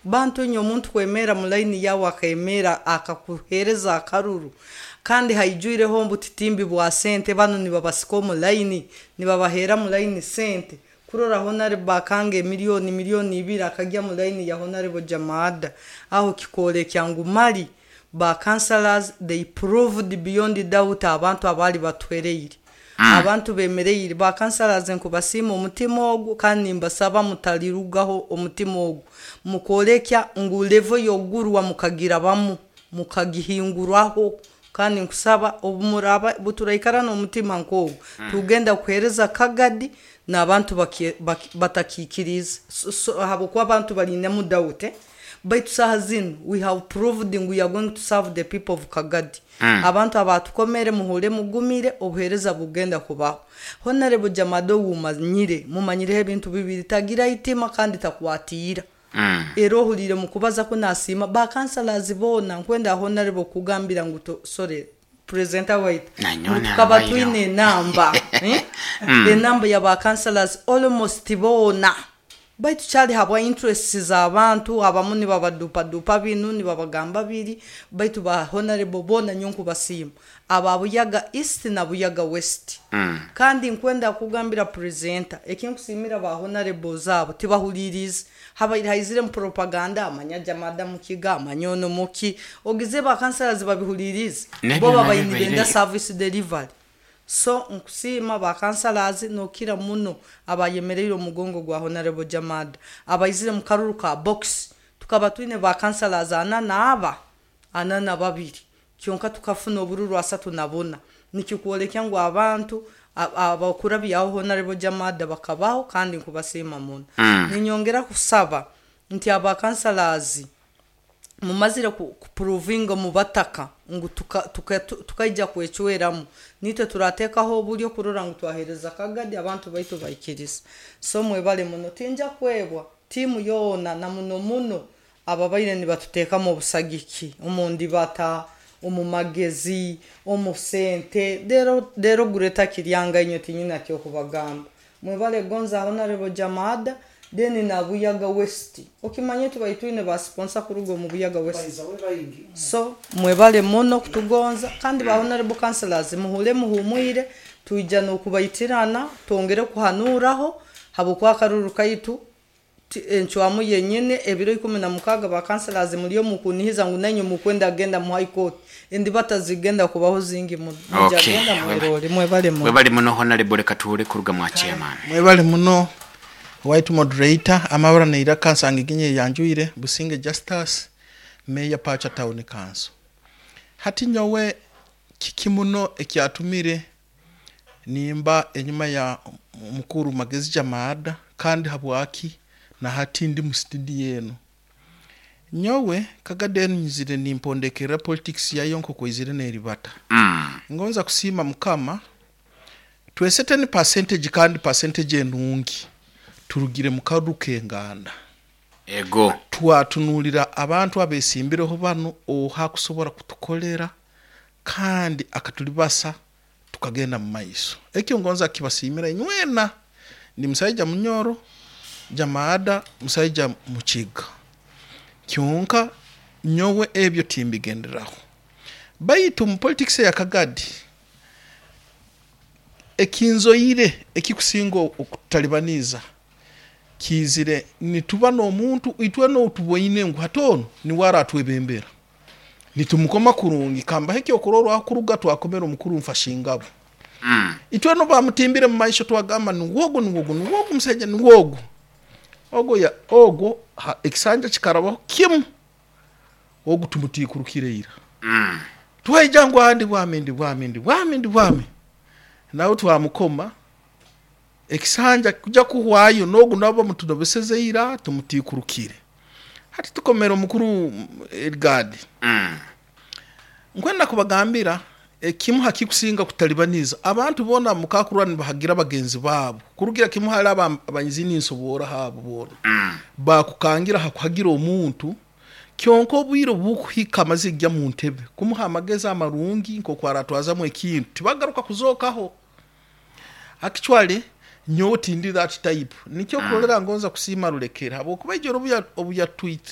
Bantu inywe, omuntu kwemera mu layini yawe, akemera akakuheereza akaruru, kandi haijwireho obutitimbi bwa sente. Banu nibabasika omu layini, nibabaheera mu layini sente. Kurora Honorable bakanga emiliyoni, 2 miliyoni akagya mu layini ya Honorable Jamada, aho kikwolekya ngu mali ba councillors, they proved beyond doubt. Abantu abaali batuhereire, abantu bemereire, ba councillors, nkubasiima omutima ogu, kandi nimbasaba mutalirugaho omutima ogu. Mukwolekya ngu level y'ogurwa mukagirabamu, mukagihinguraho. Kandi nkusaba obumuraba buturaikara n'omutima nk'ogu, tugenda kuheereza Kagadi n'abantu batakikiriize. So, habwokuba abantu balinemu doubt, eh? Baitu saaha zinu we have proved ngu we are going to serve the people of Kagadi. Abantu abatukomere, muhule mugumire, obuheereza bugenda kubaho. Honorable Jamada owumanyire, mumanyireho ebintu bibiri: tagira itima kandi takwatiira. Era ohuliire mukubaza ko nasiima ba councillors boona. Nkwenda, Honorable, kugambira ngu sorry, presenter waitu, Nanyowe ngu tukaba nabaire. twine enamba, eh? Enamba ya ba councillors almost boona, baitu kyali habwa interests z'abantu abamu, nibabadupadupa binu, nibabagamba biri. Baitu ba honorable boona nyo nkubasiima, aba Buyaga East na Buyaga West. Kandi nkwenda kugambira presenter, ekinkusiimira ba honorables abo, tibahulirize habaire haizire mu propaganda, amanya Jamada mukiga, amanya ono muki, ogize ba councillors babihulirize. Nebyo bo nabyo babaire nibenda baireyo. service delivery. So nkusiima ba councillors, nokira muno abayemereire omugongo gwa Honorable Jamada, abaizire mu karuru ka box. Tukaba twine ba councillors ana naaba 42, kyonka tukafuna obururu 34. Nikikwolekya ngu abantu abakurabyaho Honorable Jamada bakabaho, kandi nkubasiima muno. Ninyongera kusaba nti aba councillors mumazire kuprovinga mu bataka ngu tukaija kwecweramu, nitwe turateekaho oburyo kurora ngu twaheereza Kagadi, abantu baitu baikiriza. So mwebale muno. Tinja kwebwa tiimu yoona, na muno muno ababaire nibatuteekamu obusagiki omu ndibata, omu magezi, omu sente. Rero rero gureta kiryanga, inywe tinyina kyokubagamba. Mwebale gonza Honorable Jamada. Then na Buyaga West, okimanye tubaire twine ba sponsor kuruga omu Buyaga West. So mwebale muno kutugonza. Kandi ba honorable councillors, muhule muhumwire, twija n'okubaitirana, twongere kuhanuraho, habwokuba akaruru kaitu encwamu yenyine ebiro 16. Ba councillors, muliyo mukunihiza ngu nainywe mukwenda kugenda mu High Court, endibata zigenda kubaho zingi muno. Mujagenda mwerole. Mwebale muno. Webale muno, Honorable. Reka tuhure kuruga mwa chairman. Mwebale muno, white moderator. Amabara neiraka nsanga iginye yanjwire Businge Justus, Mayor, Pacha Town Council. Hati nyowe kiki muno ekyatumire nimba enyuma ya mukuru Magezi Jamada, kandi habwaki na hati ndi mu studio eno? Nyowe Kagadi enu nyizire nimpondekera politics yayo nkoko izire neribata. Ngonza kusiima Mukama, twese 10 percentage, kandi percentage enungi, turugire mu karuru k'enganda. Twatunulira abantu abesimbireho bano, oha kusobora kutukolera kandi akatulibasa tukagenda mu maiso. Ekyo ngonza kibasiimira inywena. Ndi musaija Munyoro, Jamaada musaija Mukiga, kyonka nyowe ebyo timbigenderaho. Baitu mu politics eya Kagadi, ekinzoire ekikusinga okututalibaniza kiizire nituba n'omuntu itwena outuboine ngu hati onu niwe aratwebembera, nitumukoma kurungi. Kambaho ekyokurorwaho, kuruga twakomera omukuru Nfashingabo, itwena bamutimbire mu maisho, twagamba niwogu, niwogu, niwogu musaija, niwogu ogwo ya ogwo ekisanja kikarabaho kimu, ogu tumutiikurukire ira. Twaija ngu ndi bwami, ndi bwami, ndi bwami, ndi bwami, nawe twamukoma. Ekisanja kuja kuhwayo, nogu nabo bamutunobeseze ira, tumutiikurukire. Hati tukomera omukuru Edgard. Nkwenda kubagambira ekimu hakikusinga kutalibaniza abantu boona, mukakurwa nibahagira bagenzi baabo kurugira kimu hali abanyizini nsobora habo boona bakukangira hakuhagira omuntu. Kyonka obwire obukuhika amaze kujya mu ntebe, kumuha amagezi amarungi nk'oku aratwazamu ekintu, tibagaruka kuzookaho. Actually nyowe tindi that type. Nikyo kurolera ngonza kusiima Rulekera, habwokuba ijoro obu yatwitira.